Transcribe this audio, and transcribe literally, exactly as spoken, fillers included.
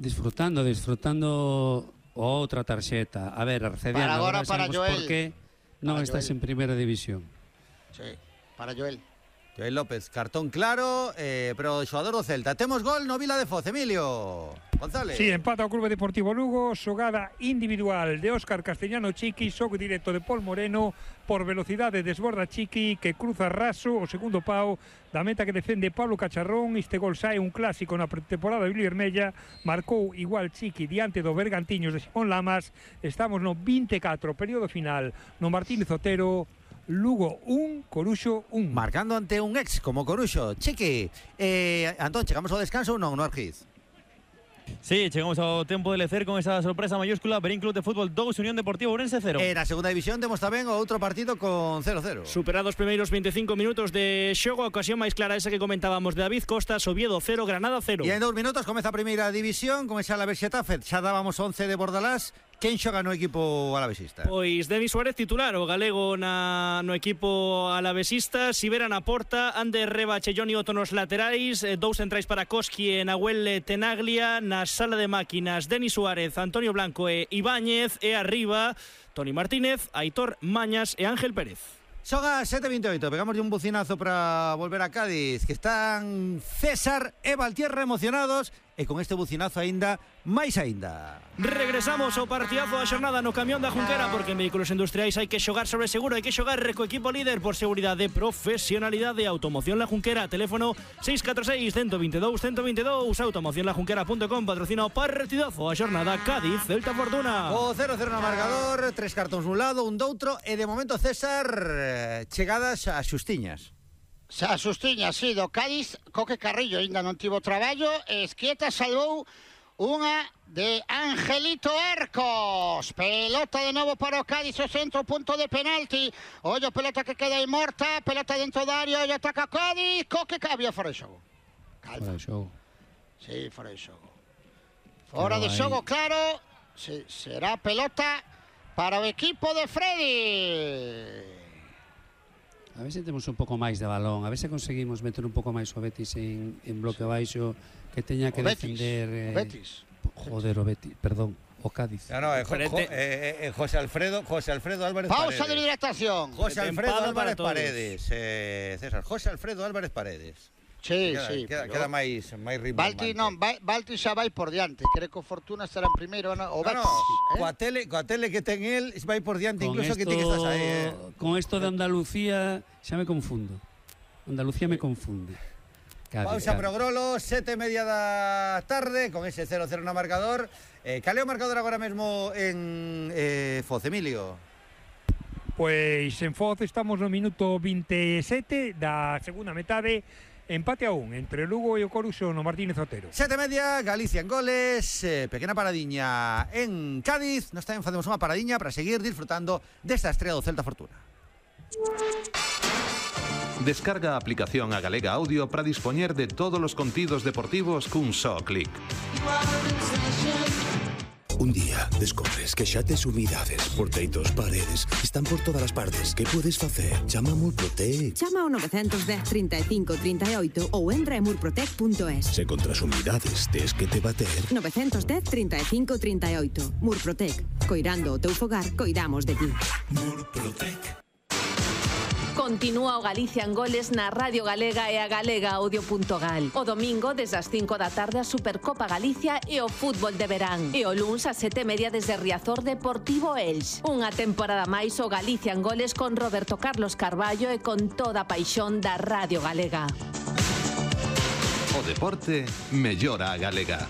Disfrutando, disfrutando outra tarxeta. A ver, Arcediano, para agora para Joel. Por que non para estás Joel. en primeira división. Sí, para Joel. Joel López, cartón claro, eh, pero o xogador do Celta. Temos gol no Vila de Foz, Emilio González. Sí, empata o Clube Deportivo Lugo, xogada individual de Óscar Castellano Chiqui, xogo directo de Pol Moreno, por velocidade desborda Chiqui, que cruza raso o segundo pau da meta que defende Pablo Cacharrón. Este gol sae un clásico na pretemporada de Villarmella, marcou igual Chiqui diante dos Bergantiños de Simón Lamas. Estamos no vinte e catro, período final, no Martínez Otero. Lugo un, Coruxo un. Marcando ante un ex como Coruxo. Chiqui, eh, Antón, chegamos ao descanso ou non, no Argiz? Sí, chegamos ao tempo de lecer con esa sorpresa mayúscula. Berín Club de Fútbol dous, Unión Deportiva Ourense cero. En a segunda división temos tamén o outro partido con cero cero. Superados primeiros vinte e cinco minutos de xogo, a ocasión máis clara esa que comentábamos de David Costas, Oviedo cero, Granada cero. E en dous minutos comeza a primeira división con esa Alavés Xetafe. Xa dábamos once de Bordalás. Quen xoga no equipo alavesista? Pois Denis Suárez titular, o galego na, no equipo alavesista. Sibera na porta, Ander Reba, Chellón e Otto nos laterais, dous centrais para Koski e Nahuel Tenaglia. Na sala de máquinas, Denis Suárez, Antonio Blanco e Ibáñez. E arriba, Toni Martínez, Aitor Mañas e Ángel Pérez. Son as sete e vinte e oito, pegamos un bucinazo para volver a Cádiz, que están César e Valtierra emocionados, e con este bucinazo aínda máis aínda. Regresamos ao partidazo da xornada no camión da Junquera, porque en vehículos industriais hai que xogar sobre seguro, hai que xogar co equipo líder por seguridade, profesionalidade. Automoción La Junquera, teléfono seis catro seis, uno dos dous, uno dos dous. automoción la junquera punto com patrocina o partidazo da xornada Cádiz Celta Fortuna. O cero cero no marcador, tres cartóns un lado, un doutro, e de momento César chegadas a xustiñas. Xa sustiña, sí, do Cádiz. Coque Carrillo ainda non tivo traballo. Esquieta salvou unha de Angelito Arcos. Pelota de novo para o Cádiz, o centro, punto de penalti. Ollo, pelota que queda aí morta, pelota dentro da área, ollo, ataca Cádiz. Coque había fora de xogo. Fora Calma. de xogo. Sí, fora de xogo. Fora Pero de xogo, claro. Sí, será pelota para o equipo de Freddy. A ver se temos un pouco máis de balón, a ver se conseguimos meter un pouco máis o Betis en, en bloque baixo, que teña que o Betis, defender eh, o Betis. Joder, o Betis, perdón, o Cádiz. No, no, eh, jo, jo, eh, eh, José Alfredo, José Alfredo Álvarez Pausa Paredes. de hidratación. José Alfredo Tempada Álvarez para Paredes, eh, César, José Alfredo Álvarez Paredes. Sí, Queda, sí. queda, pero- queda máis máis ritmo. Balti non, Ba- Balti xa vai por diante. Creo que o Fortuna estará en primeiro, no, o No, Betis. no, eh? coa tele, coa tele que ten el, vai por diante Con incluso que ti que estás aí, eh. Con esto de Andalucía xa me confundo. Andalucía me confunde. Cádiz, Pausa Cádiz. pro Grolo, sete e media da tarde, con ese cero cero no marcador. Eh, cal é o marcador agora mesmo en eh, Foz, Emilio? Pois en Foz estamos no minuto vinte e sete da segunda metade. Empate a un entre Lugo e o Coruxo no Martínez Otero. Sete e media, Galicia en goles, eh, pequena paradiña en Cádiz. Nos tamén facemos unha paradiña para seguir disfrutando desta estrela do Celta Fortuna. Descarga a aplicación a Galega Audio para dispoñer de todos os contidos deportivos cun só clic. Un día descobres que xa tes humidades por teitos, paredes, están por todas as partes. Que podes facer? Chama a Murprotec. Chama ao nove un cero, trinta e cinco, trinta e oito ou entra en murprotec punto es. Se contra as humidades tes que te bater. nove un cero, trinta e cinco, trinta e oito. Murprotec. Coirando o teu fogar, coidamos de ti. Murprotec. Continúa o Galicia en goles na Radio Galega e a galega audio punto gal. O domingo, desde as cinco da tarde, a Supercopa Galicia e o fútbol de verán. E o luns, a sete e media, desde Riazor Deportivo Elx. Unha temporada máis o Galicia en goles con Roberto Carlos Carballo e con toda a paixón da Radio Galega. O deporte mellora a Galega.